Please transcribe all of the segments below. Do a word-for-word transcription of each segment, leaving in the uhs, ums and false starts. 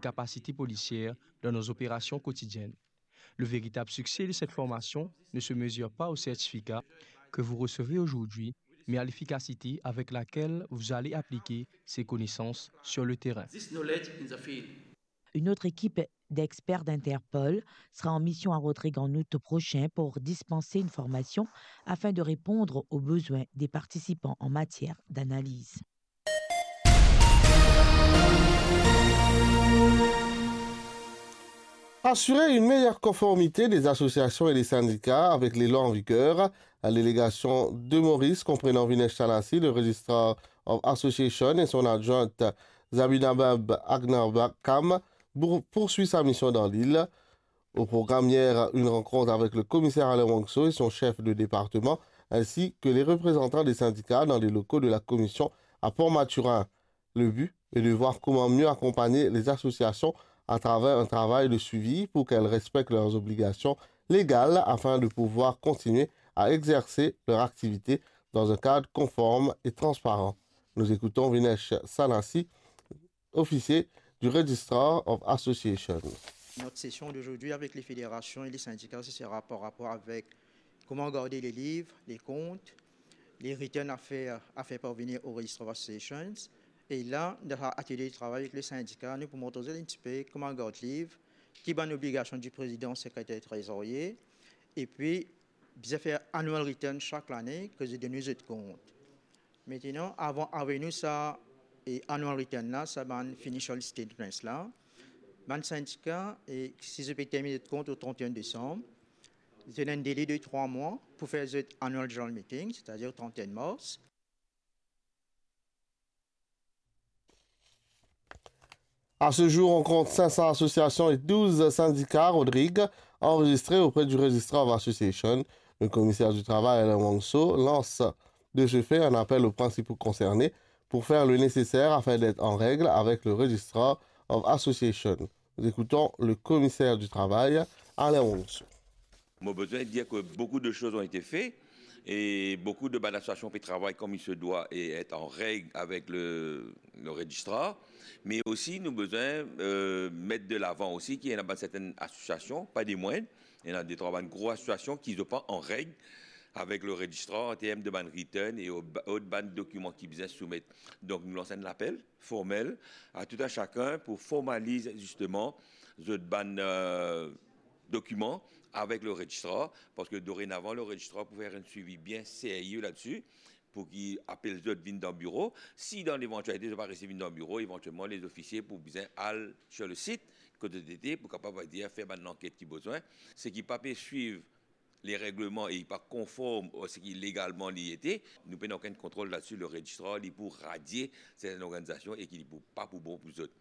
capacités policières dans nos opérations quotidiennes. Le véritable succès de cette formation ne se mesure pas au certificat que vous recevez aujourd'hui, mais à l'efficacité avec laquelle vous allez appliquer ces connaissances sur le terrain. This knowledge in the field. Une autre équipe d'experts d'Interpol sera en mission à Rodrigues en août prochain pour dispenser une formation afin de répondre aux besoins des participants en matière d'analyse. Assurer une meilleure conformité des associations et des syndicats avec les lois en vigueur. La délégation de Maurice, comprenant Vinesh Salassi, le registrar of association, et son adjointe Zabinabab Agnarbakam, pour- poursuit sa mission dans l'île. Au programme hier, une rencontre avec le commissaire Alain Wangso et son chef de département, ainsi que les représentants des syndicats dans les locaux de la commission à Port-Mathurin. Le but est de voir comment mieux accompagner les associations à travers un travail de suivi pour qu'elles respectent leurs obligations légales afin de pouvoir continuer à exercer leur activité dans un cadre conforme et transparent. Nous écoutons Vinesh Salassi, officier du Registrar of Associations. Notre session d'aujourd'hui avec les fédérations et les syndicats, ce sera par rapport avec comment garder les livres, les comptes, les returns à faire, à faire parvenir au Register of Associations. Et là, dans l'atelier de travail avec les syndicats, nous pourrons montrer un petit peu comment garder le livre, qui bann obligasion du président, secrétaire, trésorier, et puis bien faire annual return chaque année, que je donne les comptes. Maintenant, avant, avec nous, ça, et annual return là, ça, bann financial statements là, bann syndicat, et si je peux terminer de compte au trente et un décembre, j'ai un délai de trois mois pour faire cet annual general meeting, c'est-à-dire au trente et un mars. À ce jour, on compte cinq cents associations et douze syndicats à Rodrigues enregistrés auprès du Registrar of Association. Le commissaire du travail, Alain Wangso, lance de ce fait un appel aux principaux concernés pour faire le nécessaire afin d'être en règle avec le Registrar of Association. Nous écoutons le commissaire du travail, Alain Wangso. Mo bezwen dir ke boukou de soz ont été fait et boukou de bann asosiasion pe travay kom il se doit et être en règle avec le, le registrar. Me osi nou bezwen euh, met de lavan osi ki ena bann sertenn asosiasion, pa de mwin, ena de trwa bann gro asosiasion ki zot pa an règ avek le registrar an term de bann return e o- ot bann dokiman ki bizin soumet. Donk nou lans enn lapel formel a tout a sakenn pou formaliz zisteman zot bann euh, dokiman avek le registrar, parski dorenavan le registrar pou fer enn swivi bien serye ladsi, pou ki apel zot vinn dan biro. Si dan levantialite zot pa resi vinn dan biro, evantielman lezofisie pou bizin al sur le sit kot zot ete pou kapav dir fer bann lanket ki bezwin. Seki pa pe swiv le regleman e li pa konform a seki legalman li ete, nou pena okenn kontrol ladsi. Le registrar li pou radie sertenn lorganizasion e ki li pou pa pou bon pou zot.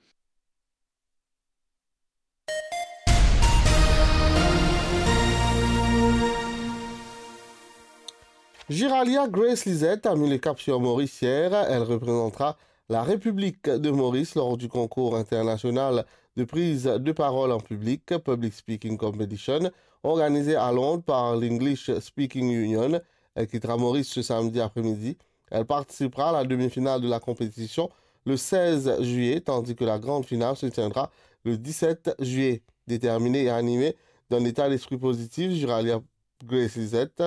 Giralia Grace Lisette a mis le cap sur Maurice hier. Elle représentera la République de Maurice lors du concours international de prise de parole en public, Public Speaking Competition, organisé à Londres par l'English Speaking Union. Elle quittera Maurice ce samedi après-midi. Elle participera à la demi-finale de la compétition le seize juillet, tandis que la grande finale se tiendra le dix-sept juillet. Déterminée et animée d'un état d'esprit positif, Giralia Grace Lisette,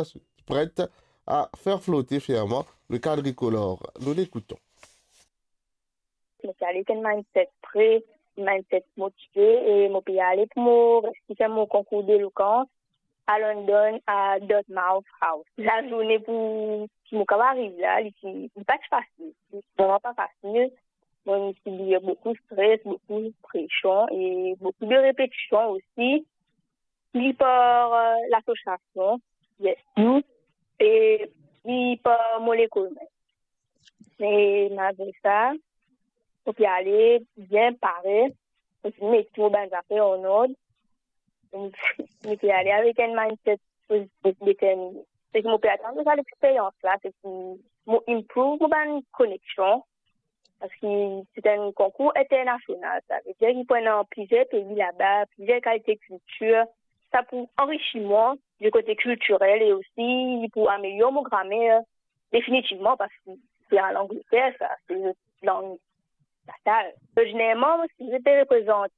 prête à faire flotter fièrement le quadricolore. Nous l'écoutons. Mo pe ale ek enn mindset pre, mindset motive e mo pe ale pou mo resi fer mo konkour delokans a London, a Dartmouth House. Lazourne pou ki mo kav ariv la, li ti, li pa ti fasil. Li vreman pa fasil. Mo ti lir boukou stres, boukou presion e boukou de repetision osi. Li par euh, lasosiasion, yes, nou, e li par mo lekol mem. Me malgre sa, mo pe ale bien pare, mo ti met tou mo bann zafer an ord, mo pe ale avek enn mindset pozitif, determine. Seki mo pe atann de sa lexperyans la, seki mo improve mo bann koneksion, parski se enn konkour internasional, savedir ki pou ena plizier pei laba, plizier kalite kiltir, sa pou anrisi mwa de kote kiltirel e osi li pou amelior mo gramer definitivman, parski se al Angleter sa, se lang Natal. Ordinèrman, mo sipoze pe reprezant la